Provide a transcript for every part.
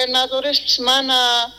gobernadorespis mana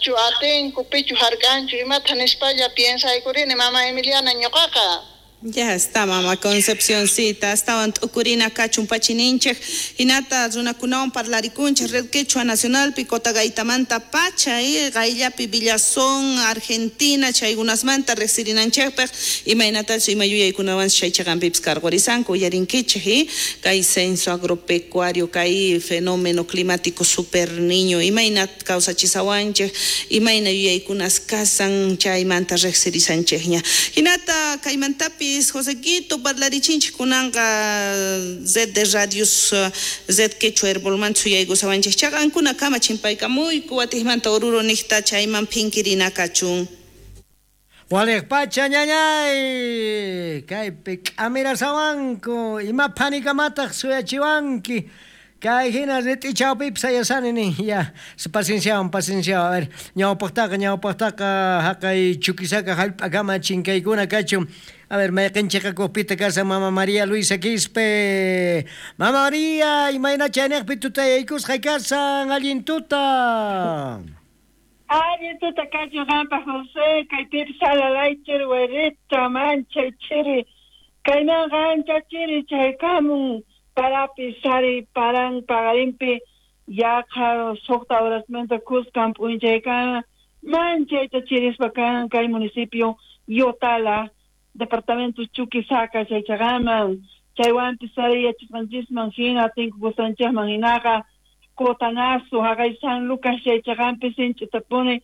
chu atinku pichu hark'anchu imata nispalla piensaykurini mama Emiliana ñuqaqa. Ya está, mama Concepcioncita, astawan t'ukurina kachun pachininchej, hinata runakunawan parlarikunchej Red Quechua Nacionalpi Cotagaitamanta pacha y qayllapi Villazón, Argentina, chaykunasmanta riqsirinanchejpaq imaynatachus ima yuyaykunawanchus chay chiqanpipis karqurisanku uyarinkichej y kay censo agropecuario, kay fenómeno climático super niño, imayna kawsachisawanchej, imayna yuyaykunas kasan chaymanta riqsirisanchejña. Hinata kaymantapis Josequito parlarichinchej kunanqa Red de Radios Red Quechua Herbolmanta suyaykusawanchej chaqankuna kama chimpaykamuyku watijmanta Oruro niqta chayman phinkirina kachun. Waliq pacha ñañay kaypi k'amirasawanku ima phanikamataq suyachiwanki kay hina rit'i chawpipi sayasani nin ya pacienciawan pacienciawan a ver ñawpaqtaqa haqay Chuquisaca hallp'akama chinkaykuna kachun. A ver, mayqinchiqakuqpita kasan mama María Luisa Quispe. Mama María, imayna chayniqpi tutayaykusqay kasan, allin tuta. Allin tuta kachun qanpaq José, kaypipis alalay chiri wayrita, manchay chiri, kaymanqa ancha chiri chaykamun parapis sari paran paqarinpi yaqa suqta horasmanta kuskan p'unchaykama manchayta chirispa kan kay municipio Yotala, departamento Chuquisaca chaychaqaman, chaywanpis sari yachasqanchisman hina tinkukusqanchikman hinaqa Cotanazo, haqay San Lucas chaychaqanpi sinch'itapuni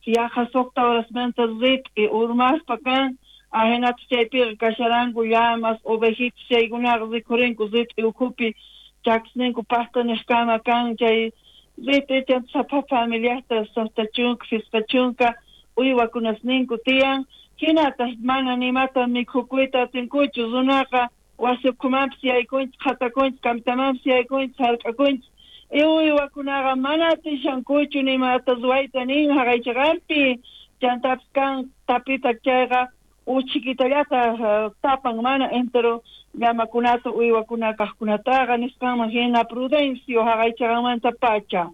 yaqa suqta horasmanta rit'i urmaspa kan, ahinata chaypiqa kasharanku llamas, ovejitas chaykunaqa rikhurinku rit'i ukhupi chakisninku paqtaniqkama kan chay rit'i chanta sapa familiasta suqta chunka, phisqa chunka uywakunasninku tiyan. Hinataq mana nimata mikhukuyta atinkuchu runaqa wasi ukhumanpis yaykunchik, qhatakunchik, kamitamanpis yaykunchik, hark'akunchik. Uywakunaqa mana atishankuchu nimata ruwayta nin haqaychaqanpi chantapis kan tapita chayqa uchikitallata tapan mana entero llamakunata uywakuna kaqkunataqa nisqanman hina Prudencio haqaychaqanmanta pacha.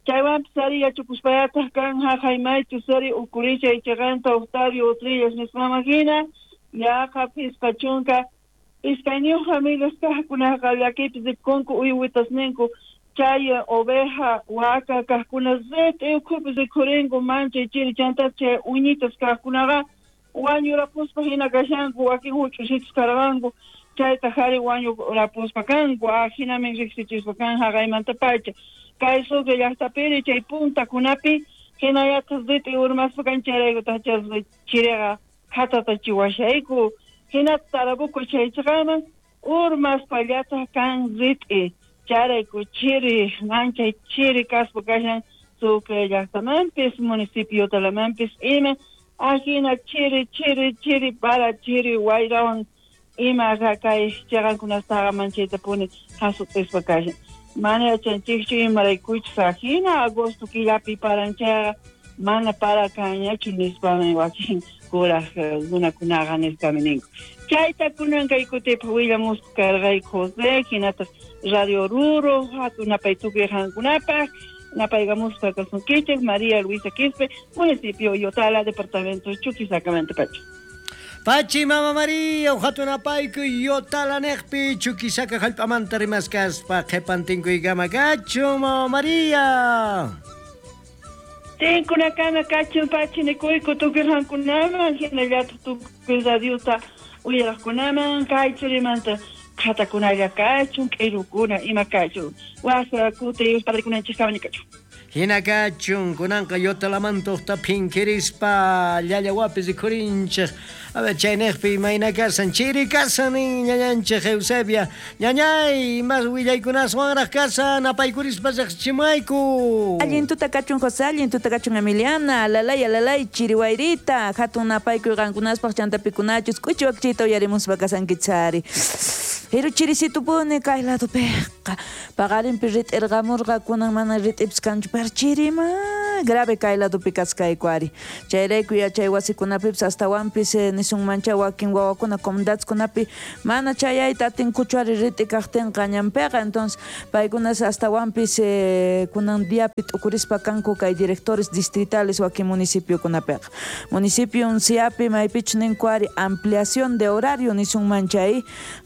Chaywanpis ari yachakuspallataq kan haqay maychus ari ukurishay chaqanta Octavio Utrillas nisqanman hina yaqa phisqa chunka iskayniyuq familias kaqkunaqa llakipis rikunku uywitasninku chay oveja waka kaqkuna rit'i ukhupi rikhurinku manchay chiri chanta chay uñitas kaqkunaqa wañurapuspa hina kashanku wakin huch'usitas karqanku chayta hari wañurapuspa kanku ahinamin riqsichispa kan haqaymanta pacha. Kay Sucre llaqtapiri chay puntakunapi hinallataq rit'i urmaspa kan chayraykutaq chiriqa qhatatachiwashayku hinata Tarabuco chaychaqaman urmaspallataq kan rit'i chayrayku chiri manchay chiri kaspa kashan Sucre llaqtamanpis municipio Yotalamanpis ima ahina chiri chiri chiri para chiri wayrawan ima kay chaqankunastaqa manchaytapuni hasut'ispa kashan. Mana yachanchikchu imaraykuchus ahina agosto killapi paranchayqa mana para kanñachu nispami wakin kuraq runakunaqa nispami ninku. Chayta kunan kay kutipaq willamuspa karqayku José, hinataq Radio Oruro, hatun napay tukuy qankunapaq, napaykamuspa kasunkichik María Luisa Quispe, municipio Yotala, departamento Chuquisacamanta pacha. Pachi mama María, hatun apayku Yotala niqpi Chuquisaca hallp'amanta rimaskaspa qhipantinkuykama kachun mama María. Tinkunakama kachun pachi nikuyku tukuy qankunaman hinallataq tukuy radiota uyaraqkunaman kay churimanta qhatakunalla kachun k'irukuna ima kachun wasa kuti padrikunanchikama kachun. Hina kachun kunanqa Yotalamanta phinkirispa llallawapi rikhurinchej. A ver, chayniqpi imayna kasan chiri kasan nin ñañanchej Eusebia. Ñañay, imas willaykunaswanraq kasan apaykurispa riqsichimayku. Allin tuta kachun José, allin tuta kachun Emiliana, alalay alalay chiri wayrita, hatun napaykuy qankunaspaq chantapikunachus k'uchi wakchita uyarimuspa kasankichari. Pero chirisitupuni kay ladopiqa paqarinpi rit'irqamurqa kunan mana rit'ipis kanchu pero chirima Grave kay ladopi kaskayku ari. Chayrayku yachay wasikunapipis astawanpis nisunmancha wakin wawakuna comunidadkunapi mana chayayta atinkuchu ari rit'i kaqtinqa ñanpiqa. Entonces paykunas astawanpis kunan diapi t'ukurispa kanku kay directores distritales wakin municipiokunapiqa. Municipio Unciapi maypichu ninku ari ampliación de horario nisunmancha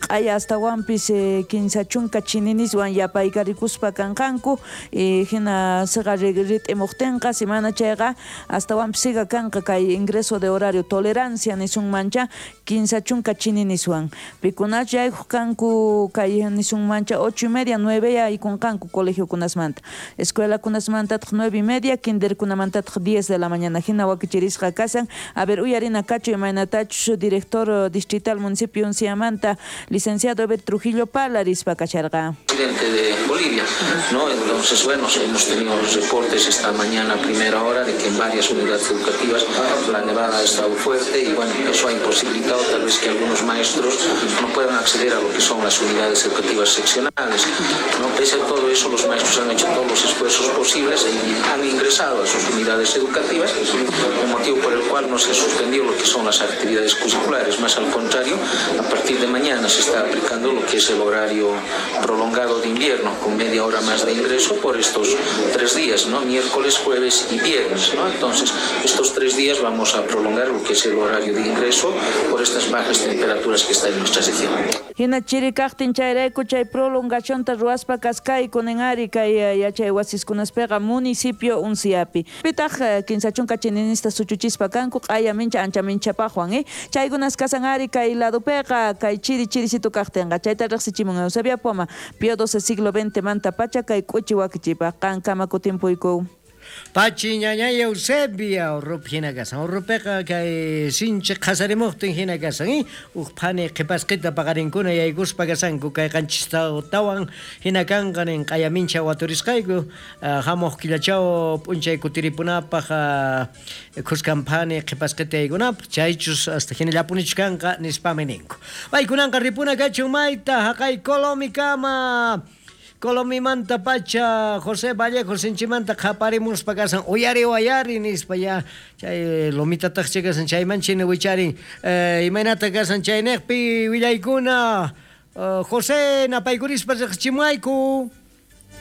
q'aya astawanpis 30 chininiswan yapaykarikuspa kanqanku hina siqa rit'imuqtinqa simana chayqa astawanpis siga kanqa kay ingreso de horario tolerancia nisunmancha 30 chininiswan pikunachu yaykuq kanku kay nisunmancha 8:30 9 yaykunqanku colegiokunasmanta escuelakunasmantataq 9:30 kinderkunamantataq 10 de la mañana hina wakichirisqa kasan. A ver, uyarina kachu imaynatachus director distrital municipio Unciamanta licenciado Eber Trujillo Palarispa kacharqa. Presidente de Bolivia, ¿no? Entonces, bueno, hemos tenido los reportes esta mañana a primera hora de que en varias unidades educativas la nevada ha estado fuerte y bueno, eso ha imposibilitado tal vez que algunos maestros no puedan acceder a lo que son las unidades educativas seccionales, ¿no? Pese a todo eso, los maestros han hecho todos los esfuerzos posibles y han ingresado a sus unidades educativas, un motivo por el cual no se ha suspendido lo que son las actividades curriculares, más al contrario, a partir de mañana se está aplicando lo que es el horario prolongado de invierno, con media hora más de ingreso por estos 3 días, ¿no? Miércoles, jueves y viernes, ¿no? Entonces, estos 3 días vamos a prolongar lo que es el horario de ingreso por estas bajas temperaturas que está en nuestra región. Hina chiri kaqtin chayrayku chay prolongacionta ruwaspa kaskayku nin ari kay yachay wasiskunaspiqa municipio Unciapi. Pitaq 30 chininista suchuchispa kanku q'aya mincha ancha minchapaqwan chaykunas kasan ari kay ladopiqa kay chiri chirisitu kaqtinqa chayta riqsichimun Eusebia Poma Pío XII siglo XX manta pacha kay k'uchi wakichipaq qankama kutimpuyku. Pachi ñañay Eusebia urrup hina kasan urrupiqa kay sinchi qhasarimuqtin hina kasan uq phani qhipasqita paqarinkuna yaykuspa kasanku kay 7tawan hina kanqa nin q'aya mincha waturisqayku hamuq killachaw p'unchay kutiripunapaq khuskan phani qhipasqita yaykunapaq chaychus hasta hinallapunichu kanqa nispami ninku. Paykunanqa ripuna kachun mayta haqay Colomikama. Colomimanta pacha José Vallejo sinchimanta qhaparimuspa kasan uyari wayari nispa ya chay lomitataq kasan chayman chini wicharin imaynata kasan chayniqpi willaykuna José napaykurispa riqchimuayku.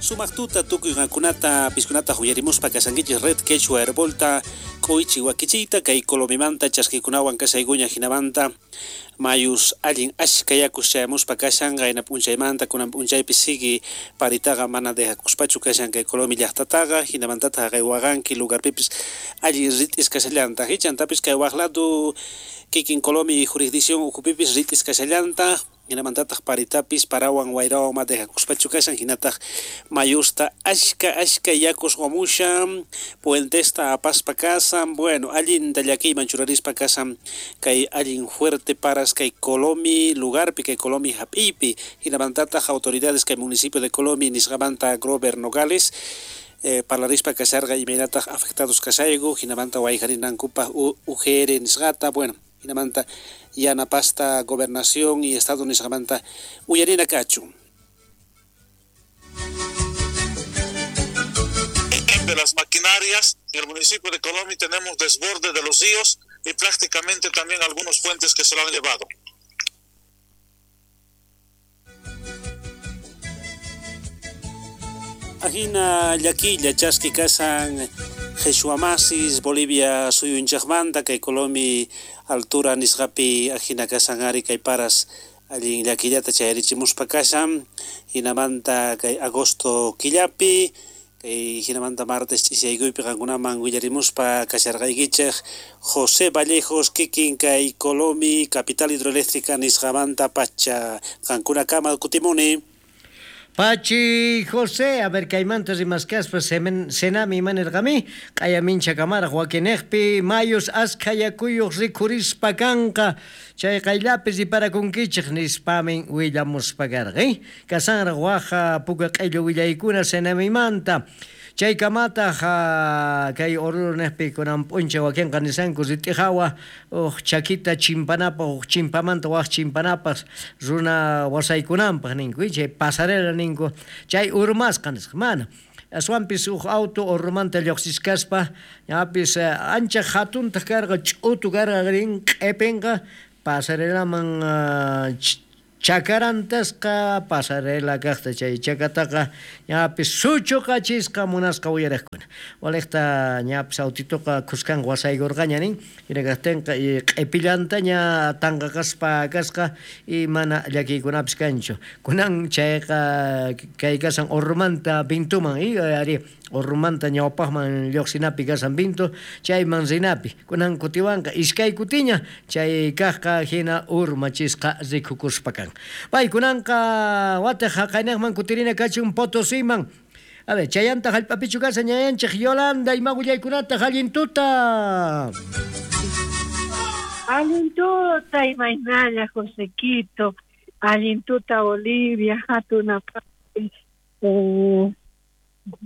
Sumaq tuta tukuy qankunata piskunata uyarimuspa kasankichis Red Quechua Herbolta k'uychi wakichiyta kay Colomimanta chaskikunawan kasaykuña hinamanta mayus allin ashka yakus chayamuspa kashan qayna p'unchaymanta kunan p'unchaypi sigi paritaqa mana dejakuspachu kashan kay Colomi llaqtataqa hinamantataq haqay waqanki lugarpipis allin rit'is kashallantaq chantapis kay waq lado kikin Colomi jurisdicción ukhupipis rit'is kashallantaq hinamantataq paritapis parawan wayrawan ma dejakuspachu kashan hinataq mayusta ashka ashka yakus wamushan puentesta apaspa kasan bueno allinta llakiyman churarispa kasan kay allin fuerte paras kay Colomi lugarpi kay Colomi hap'iypi hinamantataq autoridades kay municipio de Colomi nisqamanta Grover Nogales parlarispa kasharqa imaynataq afectados kasayku hinamanta wayjarinankupaq UGR nisqata bueno hinamanta yanapasta gobernación y estado nisqamanta uyarina kachun. De las maquinarias en el municipio de Colomi tenemos desborde de los ríos y prácticamente también algunos puentes que se lo han llevado. Ajina llakilla chaski kasan Jesuamasis Bolivia suyunchaqmanta kay Colomi altura nisqapi ajina kasan ari kay paras allin llakillata chayarichimuspa kashan hinamanta kay agosto killapi kay hinamanta martes ch'isiyaykuypi qankunaman willarimuspa kasharqaykichej José Vallejos kikin kay Colomi capital hidroeléctrica nisqamanta pacha qankunakama kutimuni. Pachi José, a ver, kaymanta rimaskaspa senami imanirqami q'aya mincha kamaraq wakinejpi mayus askha yakuyuq rikhurispa kanqa chay qayllapi riparakunkichik nispamin willamuspa karqa kasanraq waja puka q'illu willaykuna senamimanta. Chay kamataq kay Oruro niqpi kunan p'unchay wakinqa nisanku rit'ihawa uq chakita chimpanapaq uq chimpamanta waq chimpanapaq runa wasaykunanpaq ninku chay pasarela ninku chay urmasqa nisqa mana. Aswanpis uj auto urrumanta lluqsichkaspa ñapis ancha hatuntaq karqa, ch'utu karqa rin q'ipinqa pasarelaman chakarantasqa pasarela kaqta chay chakataqa ñapis suchuqachisqa munasqa uyariqkuna. Waliqta ñapis autituqa khuskanqa wasaykurqaña nin, hina kaqtinqa q'ipillantaña tanqaqaspa kasqa y mana llakiykunapis kanchu. Kunan chayqa kay kasan urrumanta vintuman y ari urrumanta ñawpaqman lluqsinapi kasan vintu chayman rinapi. Kunan kutiwanqa iskay kutiña chay kaqqa hina urmachisqa rikukuspa kan. Paykunanqa wataq haqaynaqman kutirina kachun Potosiman. A ver, chayanta hallp'apichu kashan ñayanchik Yolanda, ima willaykunataq allin tuta. Allin tuta imaynalla Josequito, allin tuta Bolivia, hatunapaqpi,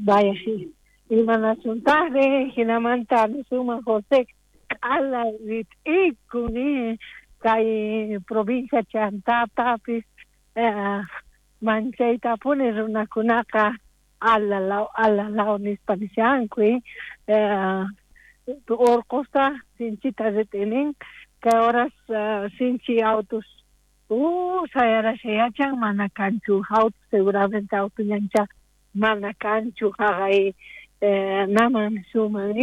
vaya imanasuntaqri, hinamanta nisuman José q'ala rit'ikun kay provincia chantatapis manchaytapuni runakunaqa alalaw alalaw nispa nishanku urqusta sinchita rit'inin kay horas sinchi autos sayarasha yachan mana kanchu auto seguramente auto ñancha mana kanchu haqay naman nisuman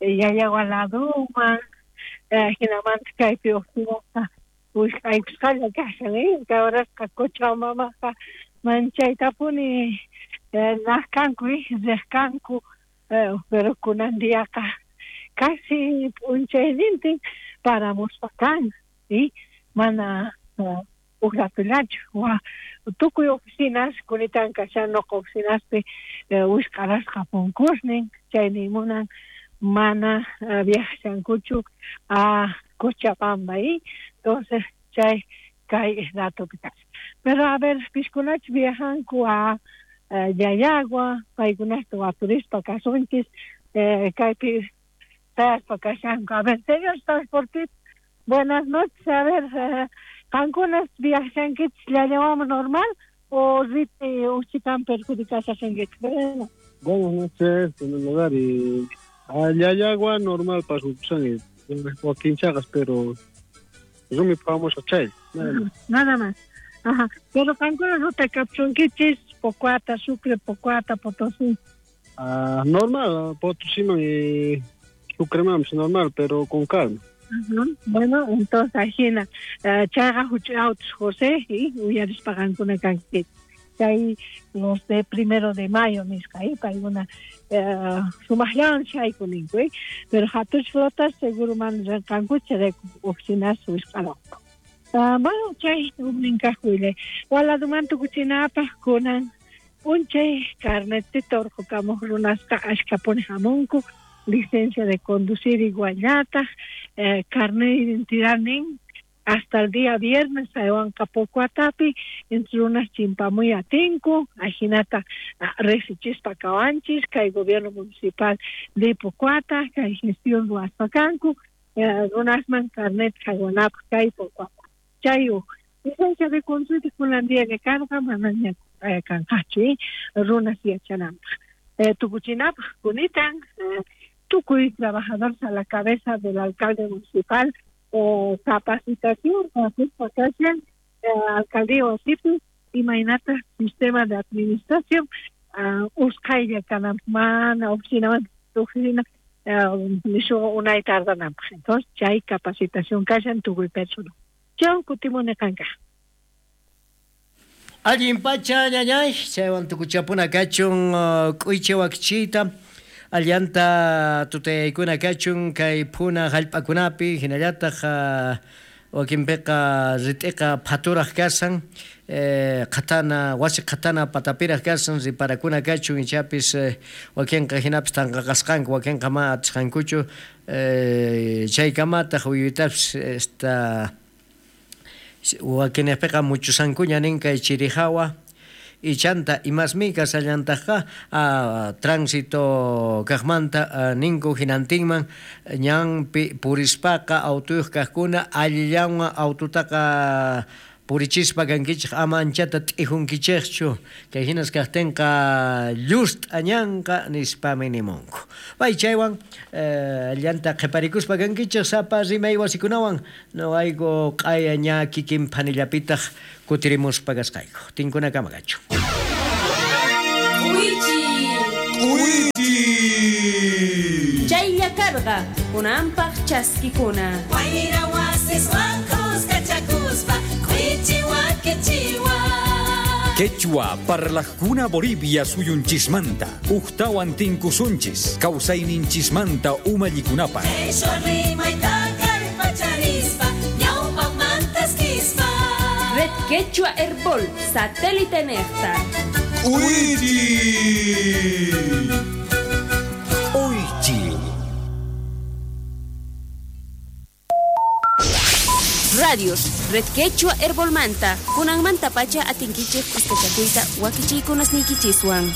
Llallagua laduman hinamanta kaypi uqtinasqa wisq'aykusqalla kashan kay horasqa Cochabambaqa manchaytapuni naq kanku riq kanku pero kunan diaqa casi p'unchaynintin paramuspa kan mana uj ratullachu tukuy oficinas kunitan kashan nuqa oficinaspi wisq'arasqa punkusnin chayni munan mana viajashankuchu a Cochabamba entonces chay kay ratopi kashan pero a ver pishkunachu viajanku a Llallagua paykunasta waturispa kasunchis kaypi sayaspa kashanku. A ver, señor transportista, buenas noches. A ver, qankunas viajashankichis Llallawaman normal o riti uchitan perjudicashankichis? Bueno. Buenas noches, en primer lugar, y a Llallagua normal pasupusani, wakin chaqas, pero rumi phawamusqa chay, nada más. Nada más. Ajá. Pero qankuna ruta kapchunkichis Pocoata, Sucre, Pocoata, Potosí. Ah, normal, Potosíman y Sucremanpis normal, pero con calma. Ajá. Bueno, entonces ajina chayqa huch'uy autos José y uyarispa qankuna kankichis. Chay los de 1 de mayo nisqa paykuna sumaqllawan shayku ninku pero hatuch flotas seguro mana rinqankuchu chayrayku oficinas wisq'aranku. Bueno, chay ujnin kaq willay. Waladuman tukuchinapaq kunan p'unchay carnetita urqukamuq runasqa ashkhapuni hamunku, licencia de conducir iguallataq, carnet de identidad nin hasta el día viernes saywanqa Pocoatapi entre runas chimpamuy atinku ajinata riqsichispa kawanchis kay gobierno municipal de Pocoata kay gestión ruwaspa kanku runasman carnet haywanapaq kay Pocoata. Chay uj licencia de conducir kunan diaña karqa manaña kanqachu runas yachananpaq. Tukuchinapaq kunitan tukuy trabajadores a la cabeza del alcalde municipal capacitación kashan alcaldía wasipi imaynata sistema de administración usqhaylla kananpaq mana oficinamanta oficina nishu unay tardananpaq. Entonces chay capacitación kashan tukuy personal. Chau kutimuni qanka. Allin pacha ñañay, chaywan tukuchapuna kachun k'uychi wakichiyta allanta tutayaykuna kachun kay phuna hallp'akunapi hinallataq wakinpiqa rit'iqa phaturaq kasan qhatana wasi qhatana patapiraq kasan riparakuna kachun ichapis wakinqa hinapis tanqaqasqanku wakinqa mana atisqankuchu chaykamataq uyuytapis esta wakinpiqa muchusankuña nin kay chirihawa y chanta imasmi kasallantaqqa tránsito kaqmanta ninku hinantinman ñanpi purispaqa autuyuq kaqkuna allillanwan aututaqa Purichispa kankichej, ama anchata t'ijunkichejchu. Kay hinas kajtinqa llust'añanqa nispami nimunku. Pay chaywan llanta qhiparikuspa kankichej sapa rimay wasikunawan noqayku q'aya ña kikin phanillapitaj kutirimuspa kasqayku. Tinkunakama kachu. Chaylla karqa kunanpaq chaskikuna. Wayra wasiswan kuskachakuspa k'uichi wakichiwa. Quechua parlajkuna Bolivia suyunchismanta ujtawan tinkusunchis kawsayninchismanta umallikunapaq. Qheshwa rimayta kallpacharispa ñawpaqmantaskispa. Red Quechua Herbol, satélite nejta. Uychi. Radios, Red Quechua Herbolmanta, kunanmanta pacha atinkichej kuskachakuyta wakichiykunasniykichiswan.